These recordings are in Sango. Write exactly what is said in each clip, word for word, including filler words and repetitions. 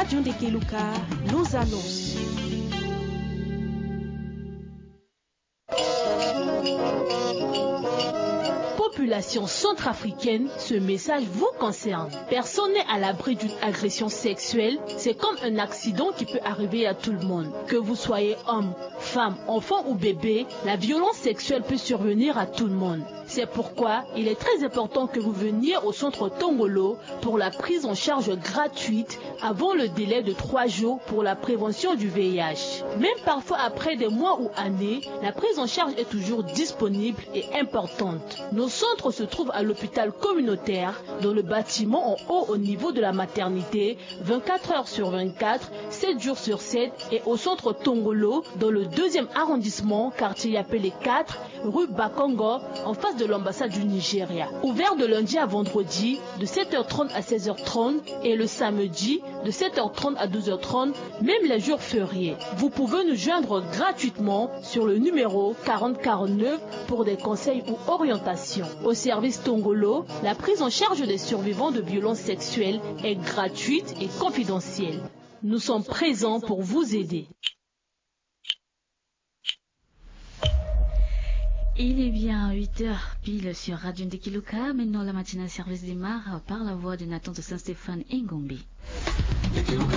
John de Keluka, nos annonces. Population centrafricaine, ce message vous concerne. Personne n'est à l'abri d'une agression sexuelle. C'est comme un accident qui peut arriver à tout le monde. Que vous soyez homme, femme, enfant ou bébé, la violence sexuelle peut survenir à tout le monde. C'est pourquoi il est très important que vous veniez au centre Tongolo pour la prise en charge gratuite avant le délai de trois jours pour la prévention du V I H. Même parfois après des mois ou années, la prise en charge est toujours disponible et importante. Nos centres se trouvent à l'hôpital communautaire, dans le bâtiment en haut au niveau de la maternité, vingt-quatre heures sur vingt-quatre, sept jours sur sept, et au centre Tongolo, dans le deuxième arrondissement, quartier Yapele quatre, rue Bakongo, en face de l'ambassade du Nigeria. Ouvert de lundi à vendredi, de sept heures trente à seize heures trente, et le samedi, de sept heures trente à douze heures trente, même les jours fériés. Vous pouvez nous joindre gratuitement sur le numéro quarante quarante-neuf pour des conseils ou orientations. Au service Tongolo, la prise en charge des survivants de violences sexuelles est gratuite et confidentielle. Nous sommes présents pour vous aider. Il est bien huit heures pile sur Radio Ndekiluka. Maintenant, la matinale service démarre par la voix de Nathan de Saint-Stéphane Engombe. Bonjour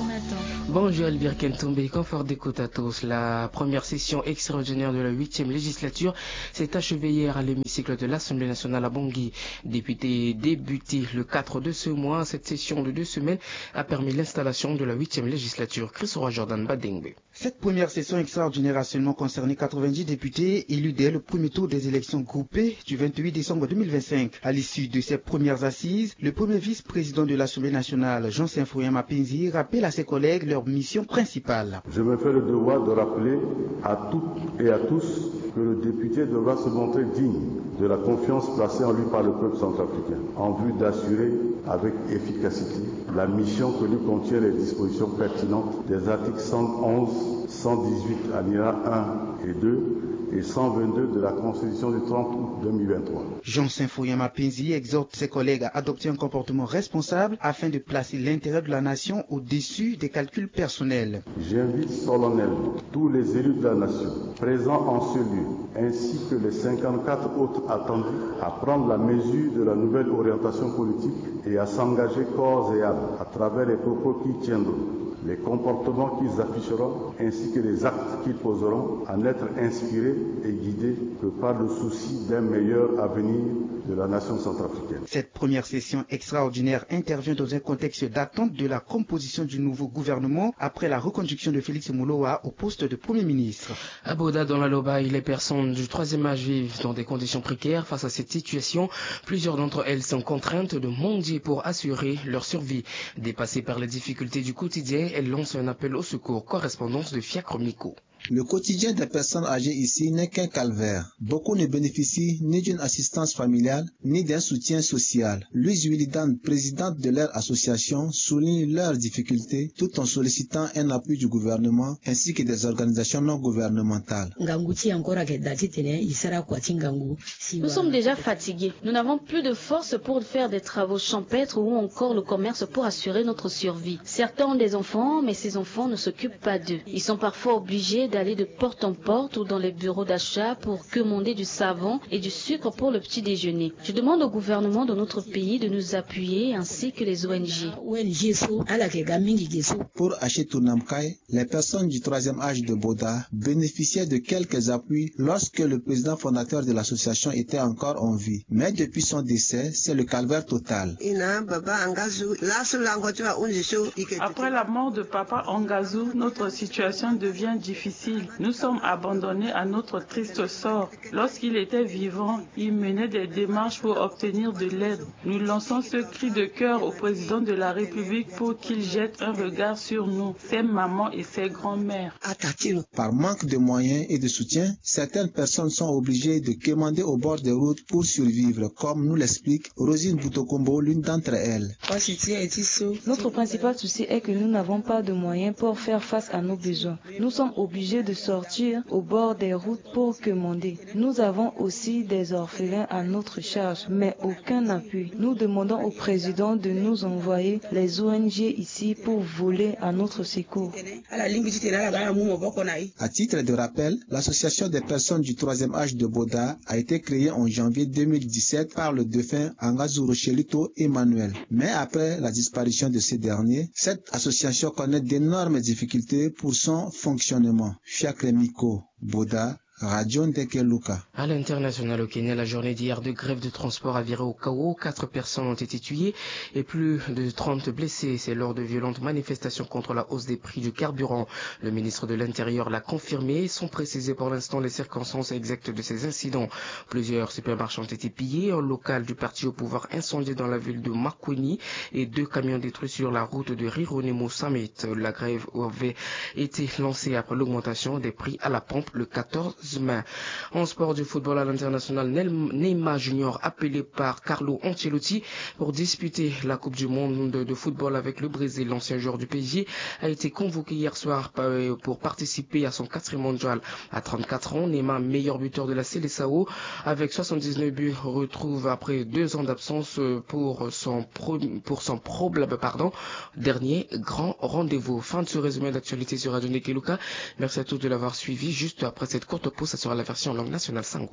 Nathan. Bonjour Elvire Kentombe, confort d'écoute à tous. La première session extraordinaire de la huitième législature s'est achevée hier à l'hémicycle de l'Assemblée nationale à Bangui. Député débuté le quatre de ce mois, cette session de deux semaines a permis l'installation de la huitième législature. Chris Roy Jordan Badengbe. Cette première session extraordinaire a seulement concerné quatre-vingt-dix députés élus dès le premier tour des élections groupées du vingt-huit décembre deux mille vingt-cinq. À l'issue de ces premières assises, le premier vice-président de l'Assemblée nationale, Jean Symphorien Mapenzi, rappelle à ses collègues leur mission principale. Je me fais le devoir de rappeler à toutes et à tous que le député devra se montrer digne de la confiance placée en lui par le peuple centrafricain en vue d'assurer avec efficacité la mission que lui contiennent les dispositions pertinentes des articles cent onze, cent dix-huit, alinéa un et deux, et cent vingt-deux de la Constitution du trente août deux mille vingt-trois. Jean Symphorien Mapenzi exhorte ses collègues à adopter un comportement responsable afin de placer l'intérêt de la nation au-dessus des calculs personnels. J'invite solennellement tous les élus de la nation présents en ce lieu, ainsi que les cinquante-quatre autres attendus, à prendre la mesure de la nouvelle orientation politique et à s'engager corps et âme à travers les propos qu'ils tiendront, les comportements qu'ils afficheront, ainsi que les actes qu'ils poseront, à n'être inspirés et guidés que par le souci d'un meilleur avenir de la nation centrafricaine. Cette première session extraordinaire intervient dans un contexte d'attente de la composition du nouveau gouvernement après la reconduction de Félix Moloua au poste de Premier ministre. À Boda, dans la Lobaye, les personnes du troisième âge vivent dans des conditions précaires. Face à cette situation, plusieurs d'entre elles sont contraintes de mendier pour assurer leur survie. Dépassées par les difficultés du quotidien, elles lancent un appel au secours. Correspondance de Fiacre Miko. Le quotidien des personnes âgées ici n'est qu'un calvaire. Beaucoup ne bénéficient ni d'une assistance familiale, ni d'un soutien social. Louise Willidan, présidente de leur association, souligne leurs difficultés tout en sollicitant un appui du gouvernement ainsi que des organisations non gouvernementales. Ngangu ti e encore ayeke daa titene e sara kua ti ngangu. Nous sommes déjà fatigués. Nous n'avons plus de force pour faire des travaux champêtres ou encore le commerce pour assurer notre survie. Certains ont des enfants, mais ces enfants ne s'occupent pas d'eux. Ils sont parfois obligés d'aller de porte en porte ou dans les bureaux d'achat pour quémander du savon et du sucre pour le petit déjeuner. Je demande au gouvernement de notre pays de nous appuyer ainsi que les O N G. O N G so ala yeke ga mingi ge so. Pour Achetou Namkai, les personnes du troisième âge de Boda bénéficiaient de quelques appuis lorsque le président fondateur de l'association était encore en vie. Mais depuis son décès, c'est le calvaire total. Après la mort de Papa Angazou, notre situation devient difficile. Nous sommes abandonnés à notre triste sort. Lorsqu'il était vivant, il menait des démarches pour obtenir de l'aide. Nous lançons ce cri de cœur au président de la République pour qu'il jette un regard sur nous, ses mamans et ses grands-mères. Par manque de moyens et de soutien, certaines personnes sont obligées de quémander au bord des routes pour survivre, comme nous l'explique Rosine Boutokombo, l'une d'entre elles. Notre principal souci est que nous n'avons pas de moyens pour faire face à nos besoins. Nous sommes obligés de sortir au bord des routes pour quémander. Nous avons aussi des orphelins à notre charge, mais aucun appui. Nous demandons au président de nous envoyer les O N G ici pour voler à notre secours. À titre de rappel, l'association des personnes du troisième âge de Boda a été créée en janvier deux mille dix-sept par le défunt Angazu Rochelito Emmanuel. Mais après la disparition de ce dernier, cette association connaît d'énormes difficultés pour son fonctionnement. Fiacre Miko, Boda, Radio Ndeke Luka. À l'international au Kenya, la journée d'hier de grève de transport a viré au chaos. Quatre personnes ont été tuées et plus de trente blessées. C'est lors de violentes manifestations contre la hausse des prix du carburant. Le ministre de l'Intérieur l'a confirmé, sans préciser pour l'instant les circonstances exactes de ces incidents. Plusieurs supermarchés ont été pillés, un local du parti au pouvoir incendié dans la ville de Makueni et deux camions détruits sur la route de Rironimo Summit. La grève avait été lancée après l'augmentation des prix à la pompe le quatorze mai. En sport du football à l'international, Neymar Junior, appelé par Carlo Ancelotti pour disputer la Coupe du Monde de football avec le Brésil, l'ancien joueur du P S G, a été convoqué hier soir pour participer à son quatrième mondial. À trente-quatre ans, Neymar, meilleur buteur de la Seleção, avec soixante-dix-neuf buts, retrouve après deux ans d'absence pour son, pro- pour son probable, pardon, dernier grand rendez-vous. Fin de ce résumé d'actualité sur Radio Ndeke Luka. Merci à tous de l'avoir suivi. Juste après cette courte pause, ça sera la version langue nationale. Sango.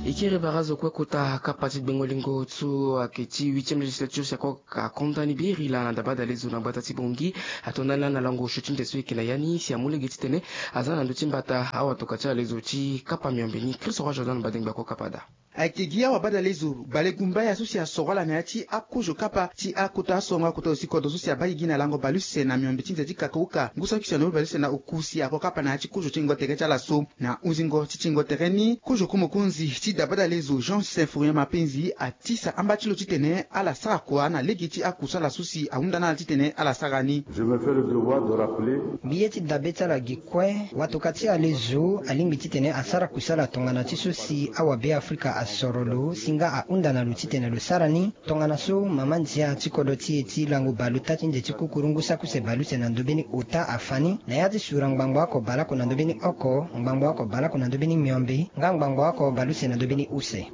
E kiri bara azo kue kota kapa ti gbengo lingo so ayeke ti huitième législature si ako akonda ni biri laa na dabadalezo na gbata ti Bangui. Ato ndani laa na lango osio ti nde so e yeke na ya ni si amu lege titene aza na ndö ti mbata awatoka ti alezo ti kapa miombe ni. Christ Roi Jordan Badengba ako kapa daa. Ayeke gi awabadalezo bale gumbaya so si asoro ala na ya ti akozo kapa ti akota asongo akota osi kodro so si abaa gi gi na lango baleuse na miombe ti nze ti kakauka ngu saki si anobe baleuse na oku si ako kapa na ya ti kozo ti ngingo tere ti ala so. Na hunzingo ti ti ngingo tere ni kozo ku mokonzi ti dabadalezo Jean Symphorien Mapenzi atisa amba ti lo titene ala sara kua na lege ti akusala so si ahunda na ala titene ala sara ni. Je me fais le devoir de rappeler. Mbi ye ti dabe ti ala gi kue, watoka ti alezo alingbi titene asara kusala tongana ti so si awabe Afrika asoro lo si nga ahunda na lo titene lo sara ni. Tongana so mama ndia ti kodro ti e ti lango baluta ti nze ti kukuru ngu saki use baleuse na ndö mbeni ota afa ni na ya ti sura ngbangbo oko baleoko na ndö mbeni oko, ngbangbo oko baleoko na ndö mbeni miombe nga ngbangbo oko baleuse na ndö mbeni use.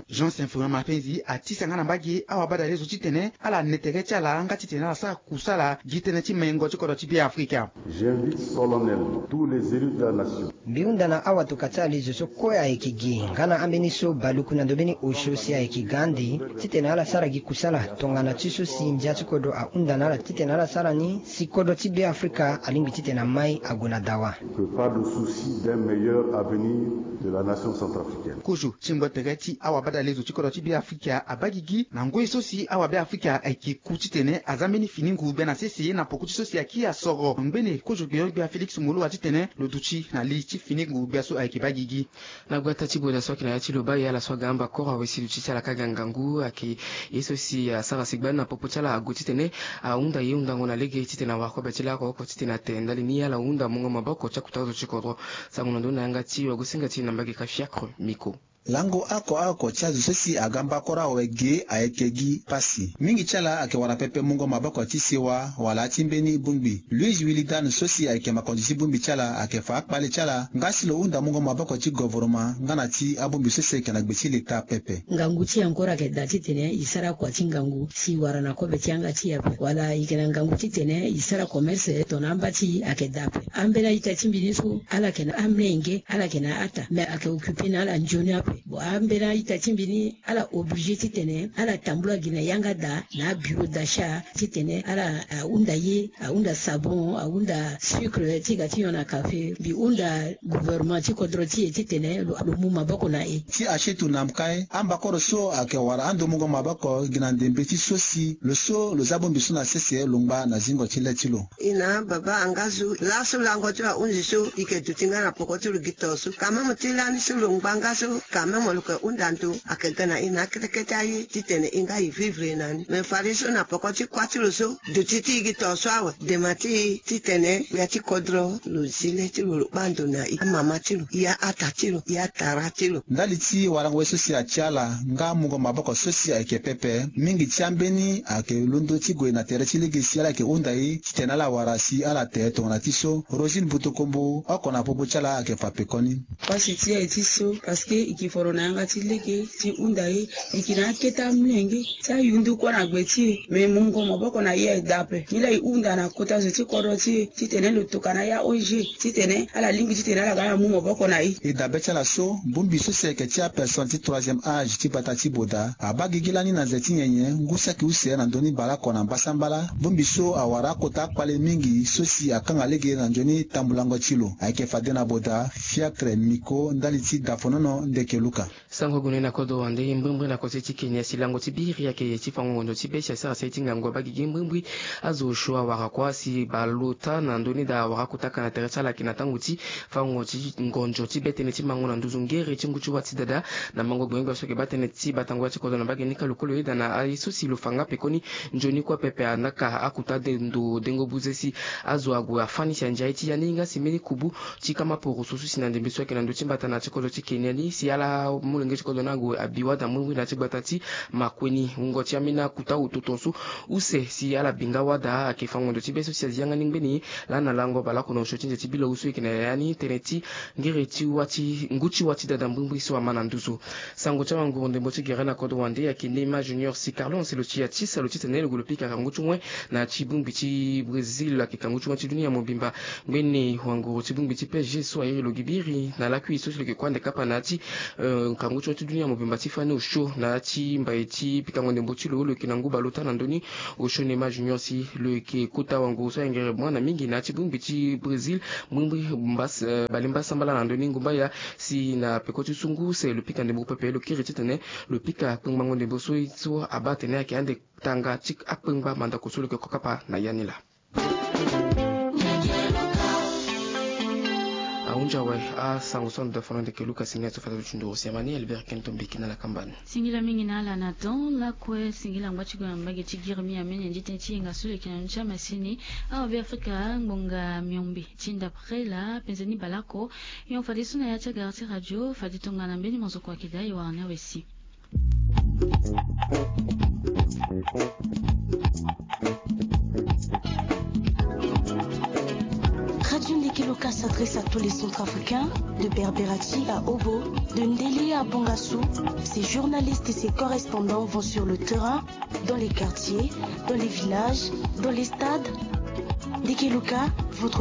Jean Symphorien Mapenzi atisa nga na mbage awabadalezo titene ala ne tere ti ala nga titene ala sara kusala gi tënë ti mengo ti kodro ti Beafrika. J'invite solennellement tous les élus de la nation. Mbi hunda na awatoka ti alezo so kue ayeke gi nga na ambeni so baluku na ndö mbeni osio si ayeke ga ande titene ala sara gi kusala tongana ti so si ndia ti kodro ahunda na ala titene ala sara ni si kodro ti Beafrika alingbi titene amai ague na dawa. Que pas de souci d'un meilleur avenir de la nation centrafricaine. Kozo ti ngingo tere ti awabadalezo ti kodro ti Beafrika abaa gigi na ngoi so si awabe Afrika ayeke ku titene aza mbeni fini ngu gbia na sese na poko ti so si aki asoro ngbene kozo gbenyo-gbia Félix Moloua titene lo duti na li ti fini ngu gbia so ayeke baa gigi. Na gbata ti Boda so ayeke na ya ti Lobaye, ala so aga amba koro awe si duti ti ala ka ga ngangu ayeke ye so si asara sigba ni na popo ti ala ague titene ahunda ye hundango na lege titene awara kobe ti laa oko oko titene ate ndali ni ala hunda mungo maboko ti akota azo ti kodro. Sango na ndö ni na yanga ti wagosinga ti na mbage ka Fiacre Miko. Lango oko oko ti azo so si aga mbakoro awe ge ayeke gi pasi. Mingi ti ala ayeke wara pepe mungo maboko ti sewa wala ti mbeni bongbi. Luis Willy Dan so si ayeke makonzi ti bongbi ti ala ayeke fa akpale ti ala nga si lo hunda mungo maboko ti govoroma nga na ti abongbi so si ayeke na gbe ti leta pepe. Ngangu ti e encore ayeke daa titene e sara kua ti ngangu si e wara na kobe ti yanga ti e ape wala e yeke na ngangu titene e sara commerce tongana amba ti e ayeke daa ape. Ambeni a-ita ti mbi ni so ala yeke na amenge, ala yeke na ata me ayeke occupe na ala nzoni ape. Bon, ambeni a-ita ti mbi ni ala oblige titene ala tambula gi na yanga daa na abureau d'achat titene ala ahunda ye, ahunda sabon, ahunda sucre ti ga ti nyon na café. Mbi hunda gouvernement ti kodro ti e titene lo, lo mu maboko na e. Ti Ashetu Namkai, ambakoro so ayeke wara ando mungo maboko gi na ndembe ti so si lo so lo za bongbi so na sese lo ngba na zingo ti le ti lo. E na baba Angazu laso lango ti ahunzi so e yeke duti nga na poko ti lo gi to so quand même ti lani so lo ngba nga so. Amemo lo yeke hunda ndo ayeke ga na e na akete kete aye titene e nga e vivre na ni. Me fade so na peko ti kuâ ti lo so duti ti e gi tongaso awe. Dema ti e titene ya ti kodro lo zi le ti lo lo kpâ ndo na e, amama ti lo, e a-ata ti lo, e atara ti lo. Ndali ti warango ye so si atia ala nga mungo maboko so si ayeke pepe, mingi ti ambeni ayeke londo ti gue na tere ti lege si ala yeke hunda e titene ala wara si ala te tongana ti so. Rosine Butokombo oko na popo ti ala ayeke fa pekoni. Pasi ti e ti so parce que e ke foro na yanga ti lege ti hunda e, e ke na akete amolenge ti ayundu kue na gbe ti e. Me mungo maboko na e aye daa ape. Nilaa e hunda na kota zo ti kodro ti e titene lo tokua na ya O N G titene ala lingbi titene ala ga ala mu maboko na e. E dabe ti ala so, bongbi so si ayeke ti apersone ti troisième âge ti gbata ti Boda abaa gigi lani na ze ti nyenye ngu saki use na ndö ni baleoko na mbasambala. Bongbi so awara akota akpale mingi so si akanga lege na nzoni tambulango ti lo. Ayeke fade na Boda, Fiacre Miko, ndali ti Dafonono Ndeke Luka. Sango gue na kodro wande mbrimbri na kose ti Kenya si lango ti biri ayeke ti fango ngonzo ti be si asara sali ti ngangu abaa gigi mbrimbri. Azo osio awara kua si baleota na ndö ni daa awara akota ka na tere ti ala ayeke na tango ti fango ti ngonzo ti be tënë ti mango na nduzu ngere ti ngu ti wâ ti dada. Na mango gbenyogbia so ayeke baa tënë ti batango wâ ti kodro na mbage ni ka lokolo yeda na aye so si lo fa nga pekoni nzoni kue pepe anaka akuta de ndo dengo buze si azo ague afâ ni si andia ye ti ya ni nga si mbeni kubu ti kama poroso so si na ndembe so ayeke na ndö ti mbata na ya ti kodro ti Kenya ni si ala molenge ti kodro ni ague abi wâ daa mbrimbri na ya ti gbata ti Makueni. Wungo ti ambeni akuta ototo so use si ala bi nga wâ daa ayeke fango ndo ti be so si azi yanga ni ngbeni lani na lango baleoko na osio ti nze ti bilo so e yeke na yaya ni tënë ti ngere ti wâ ti ngu ti wâ ti dada mbrimbri so ama na nduzu. Sango ti awanguru ndembo ti gere na kodro wande ayeke Neymar Junior si Carlo Ancelotti atisa lo titene lo gue lo pika kangu ti wen na ya ti bongbi ti Brésil ayeke kangu ti wen ti dunia mobimba. Ngbene wanguru ti bongbi ti P S G so airi lo gi biri na lakui so si lo yeke kue ande kapa na ya ti eh, kangu ti wen ti dunia mobimba ti fani osio na ya ti mbai ti pikango ndembo ti lo lo yeke na ngu baleota na ndö ni. Osio Neymar Junior si lo yeke kota wanguru so ayengere bongana mingi na ya ti bongbi ti Brésil. Mbrimbri mbas- eh, balemba sambala na ndö ni ngu mbaya si na peko ti so ngu use lo pika ndembo pepe lo kiri titene lo pika kpengbango ndembo so so abaa atene ayeke ande tanga ti akpengba mandako so lo yeke ko kapa na ya ni laa. Ahunzi awe asango so ando dafono ndeke Luka si ni ato fata lo ti nduru si amani Albert Kento Mbeki na lakamba ni. Singila mingi na ala na temps lakue singila ngba ti gue na mbage ti Girimi ameni andi tënë ti yenga so lo yeke na ndö ti amasini. Awa Be Afrika ngbonga miombe ti ndapre laa penze ni baleoko. Yon fadeso na ya ti agara ti radio fade tongana mbeni mozoko ayeke daa e wara ni awe si. Radio Ndeke Luka s'adresse à tous les Centrafricains, de Berberati à Obo, de Ndélé à Bongassou. Ses journalistes et ses correspondants vont sur le terrain, dans les quartiers, dans les villages, dans les stades. Ndeke Luka, votre